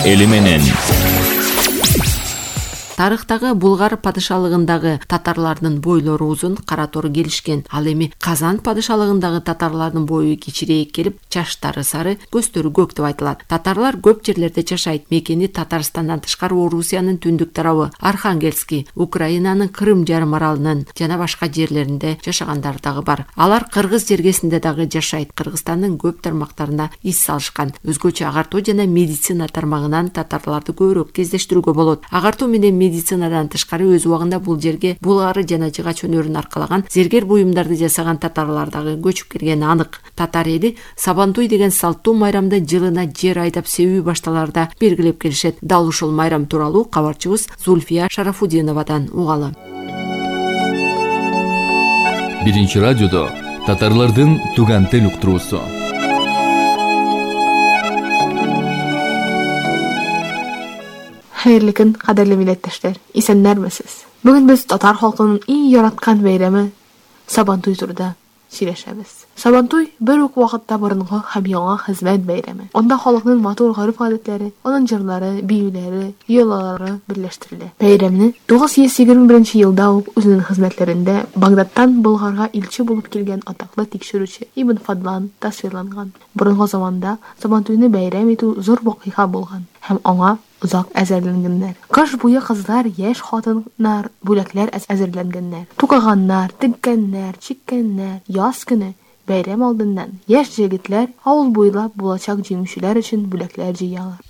эли менен. Тарыхтагы Булгар падышалыгындагы татарлардын бойлору узун, кара тор келишкен. Ал эми Казан падышалыгындагы татарлардын бою кичирээк келип, чаштары сары, көздөрү көк деп айтылат. Татарлар көп жерлерде жашайт. Мекени Татарстандан тышкары Орусиянын түндүк тарабы, Архангельский, Украинанын Крым жарым аралынын жана башка жерлеринде жашагандар дагы бар. Алар кыргыз жергесинде дагы жашайт. Кыргызстандын көп тармактарына ис салышкан. Өзгөчө агартуу жана медицина тармагынан татарларды көбүрөөк кездештирүүгө болот. Агартуу менен медицинадан тышкары өз убагында бул жерге булгары жана жыгач өнөрүн аркалаган зергер буюмдарды жасаган татарлар дагы көчүп келгени анык. Татар эли Сабантуй деген салттуу майрамды жылына жер айдап себүү башталарда белгилеп келишет. Дал ушул майрам тууралуу кабарчыбыз Зульфия Шарафудиновадан угалы. Биринчи радиодо татарлардын туган тил уктуруусу. Хайырлы күн, кадерле миллеттештер. Исәннәрмесез? Бүген без татар халкынын иң яраткан бәйрәме Сабантуй турында сөйләшәбез. Сабантуй бер үк вакытта борынгы һәм яңа хезмәт бәйрәме. Анда халыкның матур гореф-гадәтләре, аның җырлары, биюләре, йолалары берләштерелә. Бәйрәмне 921 елда ук үзенең хезмәтләрендә Багдадтан Булгарга илче булып килгән атаклы тикшерүче Ибн Фадлан тасвирланган. Борынгы заманда Сабантуйны бәйрәм итү зур вакыйга булган һәм аңа узак әзерләнгәннәр. Кыш буе кызлар, яшь хатыннар бүләкләр әзерләнгәннәр. Тукаганнар, теккәннәр, чиккәннәр. Яз көне бәйрәм алдыннан яшь җегетләр авыл буйлап булачак җиңүчеләр өчен бүләкләр җыялар.